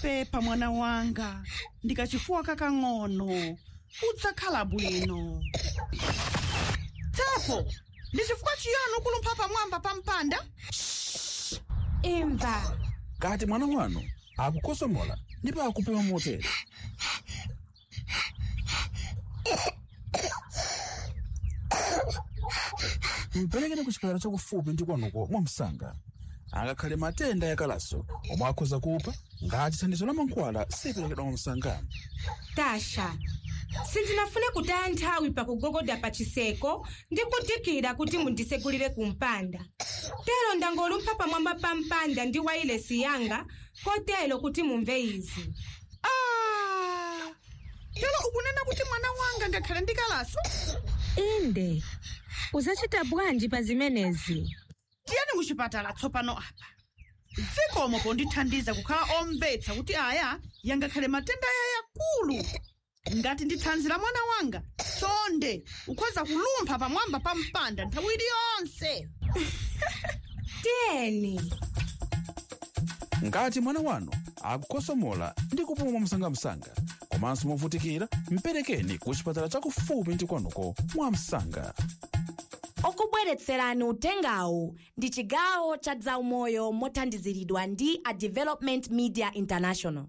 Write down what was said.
Pepa mwana wanga, ndikachifuwa kakang'ono, udzakhala bwino. Tsopano, ndi chifukwa chiyani ukulumpha pamwamba pa mpanda? Imva. Kati mwana wanu akukosomola ndipo akupuma motere, mperekeni ku chipatala chakufupi ndi kwanuko mwamsanga. Angakhale matenda yakalaso omwe akhoza kupha ngati thandizo la mankhwala siperekedwa mwamsanga. Tasha, sindinafune kutaya nthawi pakugogoda pa chiseko ndi kudikira kuti mundisegulire kumpanda. Tero ndangolumpha pamwamba pa mpanda ndi wailesi yanga kotero kuti mumve izi. Ah! Telo ukunena kuti mwana wanga ngakhale ndi kalaso? Inde, uzacita bwanji pa zimenezi? Tiyeni kuchipatala tsopano apa. Zikomo pondithandiza kukhala omvetsa kuti aya yangakhale matenda aya yakulu. Ngati ndi thanzi la mwana wanga, chonde ukhoza kulumpha pamwamba pa mpanda nthawi iliyonse. Tiyeni. Ngati mwana wanu akukosomola ndi kupuma mwamsangamsanga komanso movutikira, mperekeni ku chipatala chakufupi ndi kwanuko mwamsanga. Okubweretserani utengawu ndi chigawo cha zaumoyo mothandiziridwa ndi a Development Media International.